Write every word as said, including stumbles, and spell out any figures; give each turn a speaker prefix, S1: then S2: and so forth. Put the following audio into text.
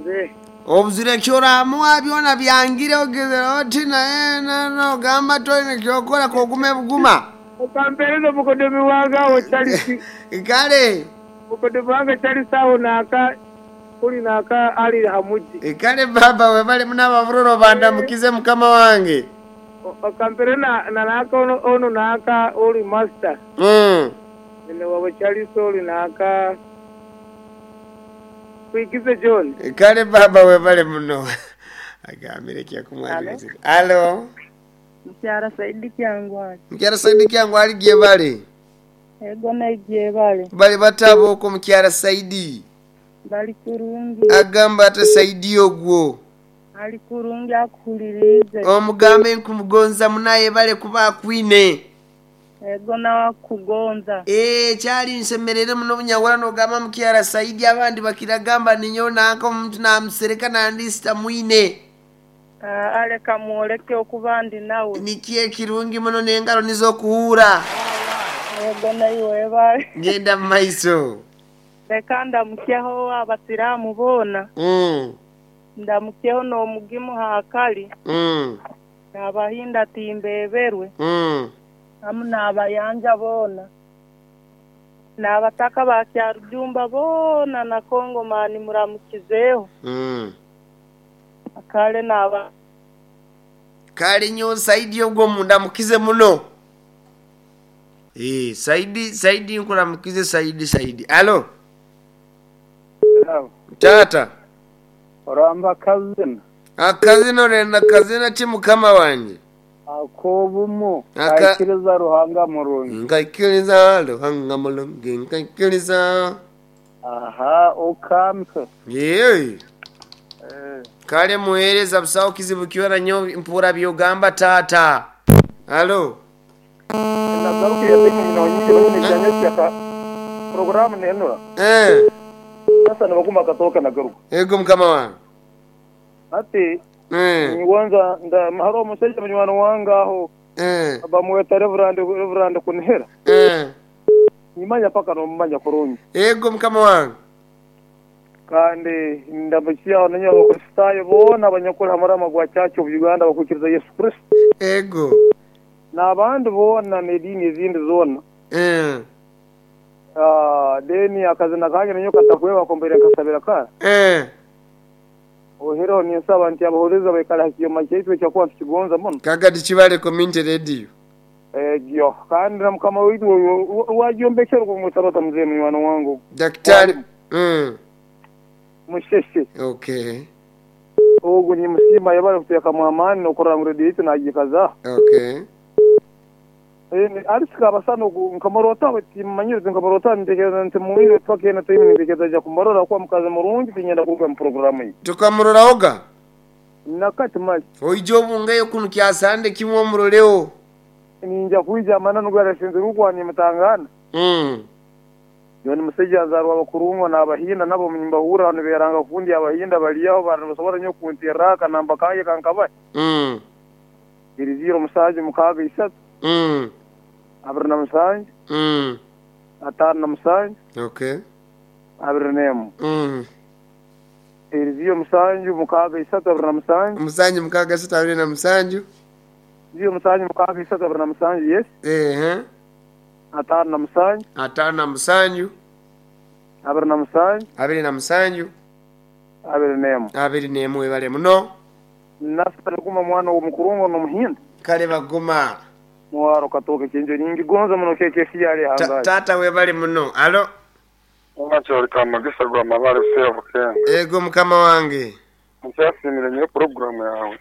S1: Mzee.
S2: Obuzire kyoramuwa byona byangire ogezera oti naye nogamba toine kyokora kogume buguma.
S1: Okampereza mukodomi wange awo Charles.
S2: Kale.
S1: Mukodomi wange Charles awo naka kuli naka ali hamuji.
S2: Kale baba webale munabavuroro bandamukize mukama wange.
S1: Okampere na naka ono, ono naka oli master.
S2: Mm.
S1: Nene wabo Charles oli naka kuikize John.
S2: Kale baba webale muno. Agambire kyakumwabiriza. Alo.
S3: Mkyara Saidi Kyangwali.
S2: Mkyara Saidi Kyangwali gye bale.
S3: Ego na gye bale.
S2: Bale batabo ko Mkyara Saidi.
S3: Bali kurungi.
S2: Agamba ate Saidi ogwo.
S3: Ali kurungi akuhulirize.
S2: Omugambe nkumugonza munaye bale kuba akwine.
S3: Ego na kugonza.
S2: Eh kyali nsemerere muno bunyawala nogamba Mkyara Saidi abandi bakiragamba ninyo nanka omuntu namusereka nandisita mwine.
S3: Uh, aleka mwoleke okubandi nawe.
S2: Nikiye kirungi muno n'engalo nizokuhura.
S3: Ego naiwe bale.
S2: Ngenda mu maiso.
S3: Reka ndamukyeho abasiramu bona.
S2: Mm.
S3: Ndamukyeho n'omugimu hakali.
S2: Mm.
S3: N'abahinda timbeberwe.
S2: Mm.
S3: Amu n'abayanja bona. N'abataka ba Kyarujumba bona na Kongo mani muramukizeho.
S2: Mm.
S3: Kale n'aba
S2: Kale nyo Saidi ogwo mundamukize muno. Eh Saidi Saidi nkuramukize Saidi Saidi. Alo.
S1: Hello.
S2: Tata.
S1: Oramba kazina.
S2: Akazina orenda kazina ki mukama wanje.
S1: Akobumu
S2: Aka-
S1: kaikiriza Ruhanga murungi.
S2: Nkaikiriza Ruhanga mulungi nkaikiriza.
S1: Aha okampe.
S2: Yee.
S1: Eh.
S2: Kale muhereza busawo kizibu kyora nyo mpura byogamba tata. Alo.
S1: Nagarukiye tenya nyingi banyine byanyaka programu nenura.
S2: Eh.
S1: Sasa nabaguma katoka nagaruka.
S2: Ego mukama wange.
S1: Ati
S2: Eh.
S1: niwanza nda maharo omusajja munywani wange aho
S2: Eh.
S1: bamweta Reverend Reverend Kunihira.
S2: Eh.
S1: Nimanya paka nomumanya kurungi.
S2: Ego mukama wange.
S1: Kandi ndamukya nanyo abakristayo bona abanyakuri hamurama gwa Church of Uganda bakwikiriza Yesu Kristo.
S2: Ego.
S1: N'abandi bona n'ediini ezindi zona.
S2: Eh.
S1: Ah, deni akazina kange nanyo katakweba kombere nkasabira ka.
S2: Eh.
S1: Ohero ninsaba nti abahuriza baikala hakiyoma kyaitu ekyakuba tukigonza muno.
S2: Kagati kibale community radio.
S1: Egyo kandi na mukama waitu wagyombekera kumwitabata mzee munywani wangu.
S2: Daktari. Mm.
S1: Musheshe.
S2: Okay.
S1: Ogu ni musima yabale kuteka mu amani nokurora ngu radio yaitu nagikaza.
S2: Okay.
S1: Eh alisika abasano nkamurota timanyirize nkamurota ntekereza nti muwire twakena timu ntekereza ja kumurora kwa mukazi murungi tinyenda kuga mu programu iyi.
S2: Tukamuroraoga.
S1: Nakati mali.
S2: Oijo bungayo kunu kyasande kimwe omuroleo.
S1: Ninja kuija amana nugara sinzira ukwani mutangana.
S2: Mm.
S1: Yoni musajja azarwa bakurungwa n'abahinda nabo munyumbahura hano beranga kundi abahinda baliyaho bantu basobora nyo kunterra kanamba kaye kankaba.
S2: Mm.
S1: Iri zero musaje mukaga isatu.
S2: Mm.
S1: Abiri na musanju.
S2: Mm.
S1: Atano na musanju.
S2: Okay.
S1: Abiri n'emu.
S2: Mm.
S1: Iri zero musanju mukaga isatu abiri na musanju.
S2: Musanju mukaga isatu abiri na musanju.
S1: Zero musanju mukaga isatu abiri na musanju yes.
S2: Eh.
S1: Atano na musanju.
S2: Atano na musanju.
S1: Abiri na musanju.
S2: Abiri na musanju.
S1: Abiri n'emu.
S2: Abiri n'emu webale muno.
S1: Nasa kuma mwana w'omukurungo n'omuhinda.
S2: Kale baguma.
S1: Mwaro katoke kinjo nyingi gonza muno keke siyali hangaye.
S2: Tata webale muno. Alo.
S4: Omachori kamagisa gwa mabale sevo kenga.
S2: Ego mukama wange.
S4: Nchasimire nyo programu yawe.